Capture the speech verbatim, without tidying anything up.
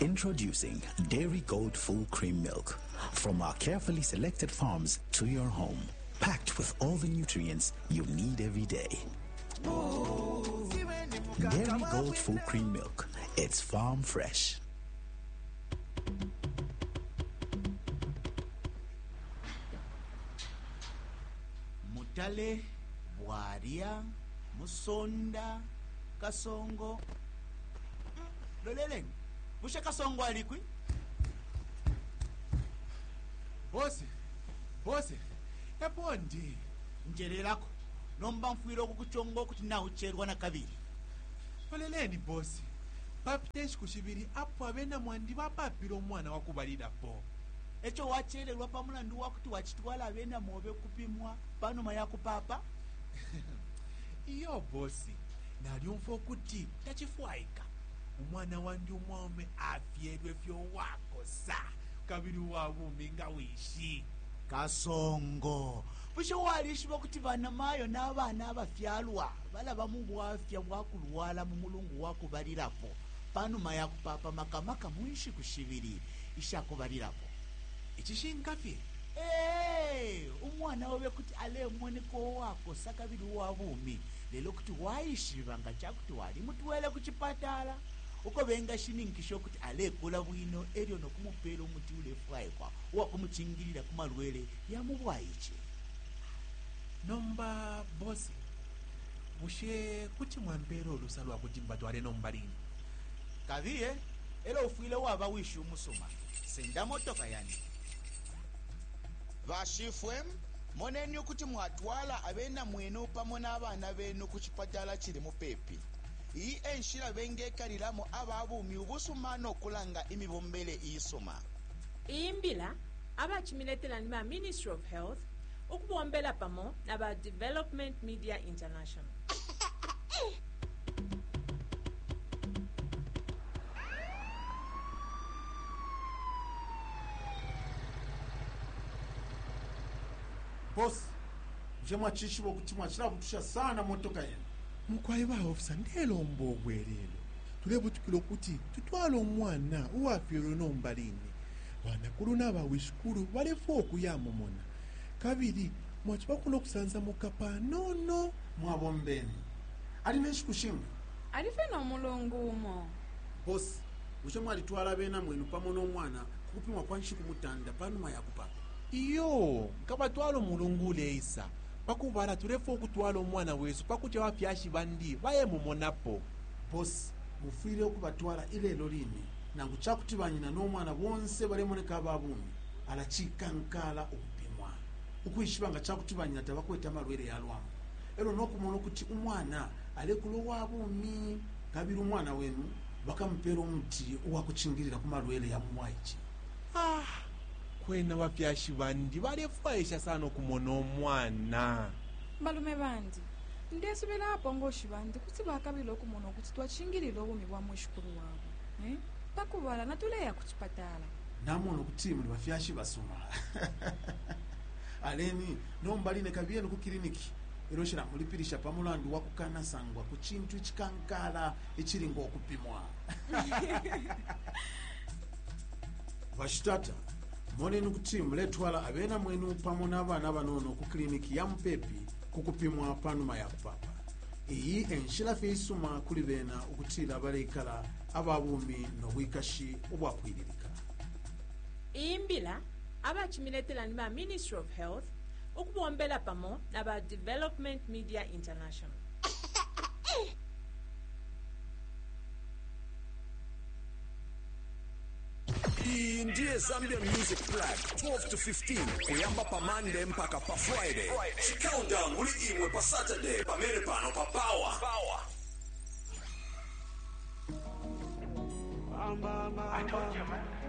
Introducing Dairy Gold Full Cream Milk. From our carefully selected farms to your home. Packed with all the nutrients you need every day. Dairy Gold Full Cream Milk. It's farm fresh. Mutale, Bwaria, Musonda, Kasongo. Mm, loleleni, bushe Kasongo alikwi? Bosi, bosi, epo ndi. Njererako, nomba mfwile okukuchonga okuti naucherwa na kabili. Loleleni bosi, papita enshiku shibili apo abena mwandi bapapile umwana wakubalilapo. Echo wachererwa pa mulandu wakuti wachitwala abena mobe kupimwa panuma yakupapa? Iyo bosi, nalyumfwa ukuti tachifwaika. Umwana wandi umwaume afyelwe fyo wakosa kabili uwabumi nga wishi. Kasongo, bushe walishiba kuti banamayo n'abana abafyalwa balaba mu bwafya bwa kulwala mu mulungu wakubalilapo panuma yakupapa, makamaka mu nshiku shibili ishakubalirapo? Icishinka fye? Ee, umwana obe kuti alemoneka uwakosa kabili uwa bumi, lelo kuti waishiba nga cakuti walimutwele ku chipatala uko bengashininkisha ukuti alekula bwino elyo nokumupela umuti ulefwaikwa uwakumucingilila ku malwele ya mu bwaice. Nomba bosi, bushe kuti mwampela ulusa lwa kuti mbatwale nomba lini? Kabiye, elo ufwile waba wishi umusuma. Senda motoka yani. Bashifwe, moneni ukuti mwatwala abena mwenu pamo n'abana benu ku chipatala chili mupepi. Iyi enshila bengekalilamo ababumi ubusuma nokulanga imibombele iisuma. Iyi mbila abachimiletela ni ba Ministry of Health ukubombela pamo na ba Development Media International. Bosi, bushe mwachishiba ukuti mwachilabutusha sana motoka yenu? Mukwai ba ofisa, ndelomba obwelelo. Tulebutukila ukuti tutwale umwana uwafyelwe nomba line. Banakulu n'abawishikulu balefwa okuyamumona, kabili mwachibako n'okusansamuka panono. Mwabombeni. Ali nenshiku shinga? Alife n'omulungu umo. Bosi, bushe mwalitwala abena mwenu pamo n'omwana kukupimwa kwa nshiku mutanda panuma ya kupapa? Iyo, nkabatwala omulungu uleisa. Pakubala tulefwa okutwala omwana wesu pakuti abafyashi bandi bayemumonapo. Bosi, mufwile okubatwala ilelo line. Nangu cakuti banyina n'omwana bonse balemoneka ababumi, alacikankala ukupimwa ukwishiba nga cakuti banyina tabakwete amalwele ya lwambo, elo nokumona ukuti umwana alekula uwabumi, kabili umwana wenu bakamupela umuti uwakucingilila ku malwele ya mumwaice. Ah, kwena bafyashi bandi balefwaisha sana okumona omwana. Balume bandi, ndesubila apongoshi bandi kuti bakabila okumona ukuti twachingilila obumi bwa mwishikulu wabo, eh? Pakubala natuleya ku chipatala. Namona ukuti muli bafyashi basuma. Aleni nomba line, kabiyeni ku kiliniki, elo shilamulipilisha pa mulandu wa kukanasangwa ku cintu icikankala icili ng'okupimwa. Bashitata, moneni kuti muletwala abena mwenu pamo n'abana banono ku kiliniki ya mupepi ku kupimwa panuma ya kupapa. Iyi enshila fye isuma kuli bena ukutila baleikala ababumi n'obwikashi ubwapwililika. Iyi mbila abachimiletela ni ba Ministry of Health ukubombela pamo na ba Development Media International. Iyi ndiye Zambia Music Flag twelve to fifteen, kuyamba pa Monday mpaka pa Friday. Countdown muli imwe pa Saturday pamene pano pa Power. I told you, man.